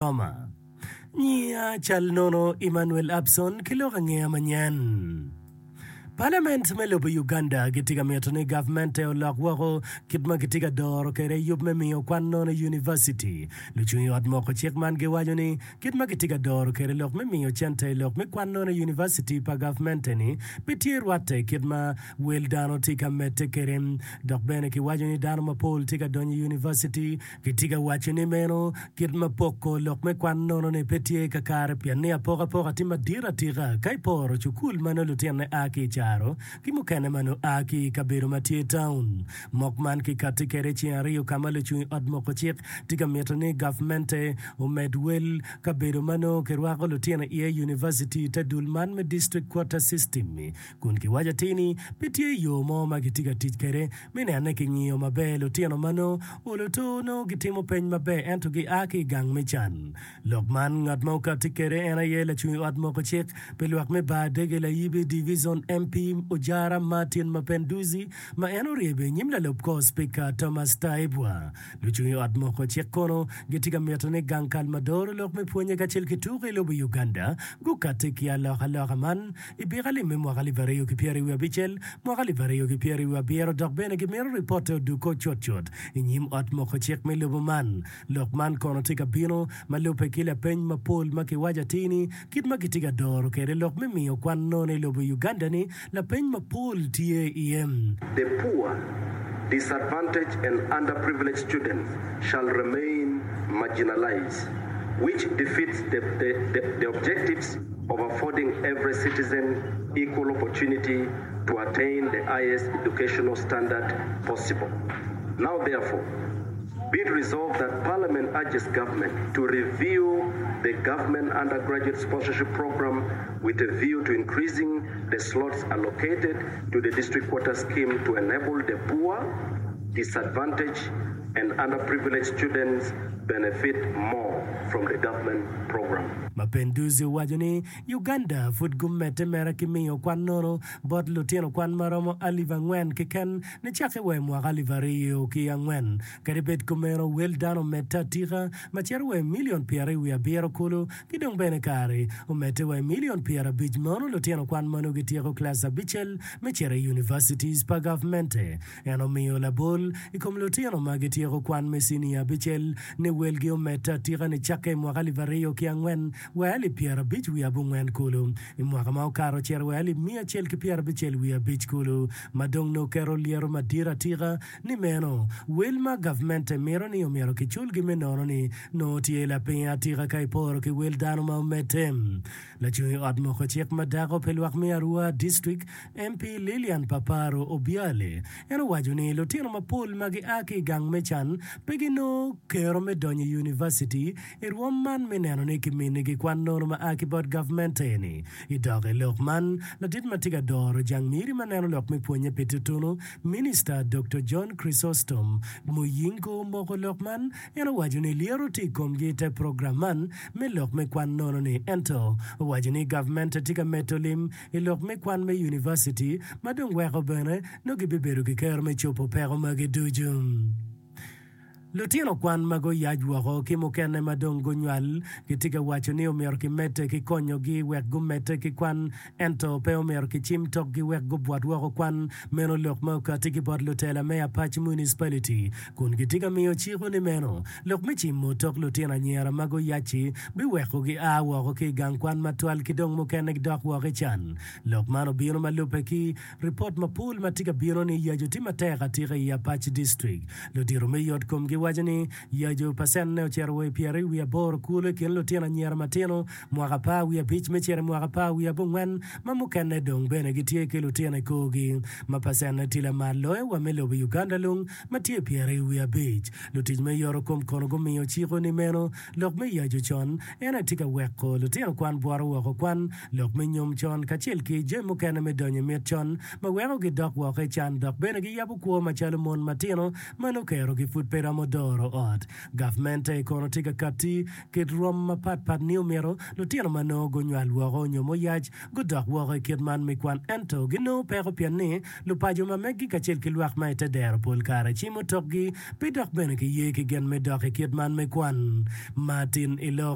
Roma. Nyiya cal nono Emmanuel Abson ki lok angeya manyen. Palament me lobo Uganda gitye ka mito ni gavmente olok woko kit ma gitye ka doro kwede yub me miyo kwan nono i univaciti. Lucung i ot moko cik man giwaco ni kit ma gitye ka doro kwede lok me miyo cente i lok me kwan nono i univaciti pa gavmente-ni pe tye rwatte kit ma wel dano tye ka medde kwede. Dok bene kiwaco ni dano mapol tye ka donyo i univaciti Gitye ka waco ni meno kit ma poko lok me kwan nono-ni pe tye kakare pien ni apokapoka tye madit atika ka iporo cukul ma nongo lutinone a ki i caro ki mukene ma nongo a ki i kabedo ma tye taun. Mok man kikatti kwede ceng aryo ka ma lucung i ot moko cik tye ka mito ni gavmente omed wel kabedo ma nongo kirwako lutino iye i univaciti i te dul man me District Quota System-mi kun kiwaco atir ni pe tye yo mo ma kitye ka tic kwede me neno ni kingiyo maber lutino ma nongo olo to nongo gitimo peny maber ento gia ki i gang me can. Lok man ngat ma okatti kwede en aye lacung i ot moko cik pi lwak me bar dege Layibi Divizon MP Ojara Martin Mapenduzi ma en oryebo i nyim lalub kor Spika Thomas Taibwa. Lucung i ot moko cik kono gitye ka mito ni gang kal ma doro lok me pwonye kacel ki tuko i lobo Uganda gukatti ki alokaloka man I byek alip me mwaka 2026, mwaka 2027 dok bene gimito ripotte odukko cutcut i nyim ot moko cik me lobo man. Lok man kono tye ka bino ma lubbe ki lapeny mapol ma kiwaco atir ni kit ma kitye ka doro kwede lok me miyo kwan nono i lobo Uganda-ni, lapeny mapol tye iye. The poor, disadvantaged and underprivileged students shall remain marginalized, which defeats the the the objectives of affording every citizen equal opportunity to attain the highest educational standard possible. Now therefore, be it resolved that Parliament urges Government to review the Government Undergraduate Sponsorship Program with a view to increasing the slots allocated to the District Quota Scheme to enable the poor, disadvantaged and underprivileged students benefit more from the government program. Mapenduzi owaco ni Uganda pud gumedde mere ki miyo kwan nono bot lutino kwan ma romo 4,000 keken nicakke wa i mwaka 2004. Kadi bed kumeno, wel dano omedde atika ma cito wa i milion 27 kulu ki dong bene kare omedde wa i milion 50 mono lutino kwan ma nongo gityeko kilac abicel me cito i universities pa gavmente. En omiyo labol i kom lutino ma gityeko kwan me cinia abicel ni welgi omedde atika nicakke i mwaka 2004 wa 1950 kulu. I mwaka ma okato ocito wa 1165 kulu, ma dong nongo oketo lyeto madit atika ni meno wel ma gavmente mito ni omyero kiculgi me nono ni nongo tye lapiny atika ka iporo ki wel dano ma omedde. Lacung i ot moko cik ma dako pi lwak me Arua District, MP Lilian Paparo Obiale, en owaco ni lutino mapol ma gia ki i gang me can pe ginongo kero me donyo i univaciti i rwom man me neno ni kiminigi kwan nono ma a ki bot gavmente-ni. I dok i lok man, ladit ma tye ka doro jang miri ma neno lok me pwonye pi tutunu, Minista Doktor John Chrysostom Muyingo omoko lok man En owaco ni lyeto tye i komgi i te program man me lok me kwan nono-ni ento owaco ni gavmente tye ka medo lim i lok me kwan me univaciti ma dong weko bene nongo gibibedo ki kero me cobo peko magi ducu. Lutino kwan ma guyac woko ki mukene ma dong gunywal gitye ka waco ni omyero kimedde ki konyogi wek gumedde ki kwan Ento pe omyero kicim tokgi wek gubwot woko kwan meno lok ma okatti ki bot lutela me Apac Municipality kun gitye ka miyo ciko ni meno lok me cimo tok lutino anyira ma guyac-ci biweko gia woko ki i gang kwan matwal ki dong mukene gidok woko i can. Lok man obino ma lubbe ki ripot mapol ma tye ka bino ni yaco tye matek atika i Apac District. Ludito me yot kom giwaco ni yaco pacenne ocito wa i 28 kulu i kin lutino anyira matino Mwaka 15 me cito i mwaka 14 ma mukene dong bene gitye ki lutino i korgi, ma pacenne tye lamal loyo wa me lobo Uganda lung ma tye 25. Lutic me yoto kom kono gumiyo ciko ni meno lok me yaco con en aye tye ka weko lutino kwan bwoto woko kwan, lok me nyom con kacel ki jami mukene me donyo i mit con ma weko gidok woko i can dok bene giyabo kwo macalo mon matino ma nongo kerogi pud pe romo. doro ot. Gavmente kono tye ka katti kit rwom mapat pat ni omyero lutino ma nongo gunywal woko nyo muyac gudok woko i kit man me kwan ento ginongo peko pien ni lupaco ma meggi kacel ki lwak ma i te dero pol kare cimo tokgi pe dok bene giye ki gen me dok i kit man me kwan. Martin Ilok.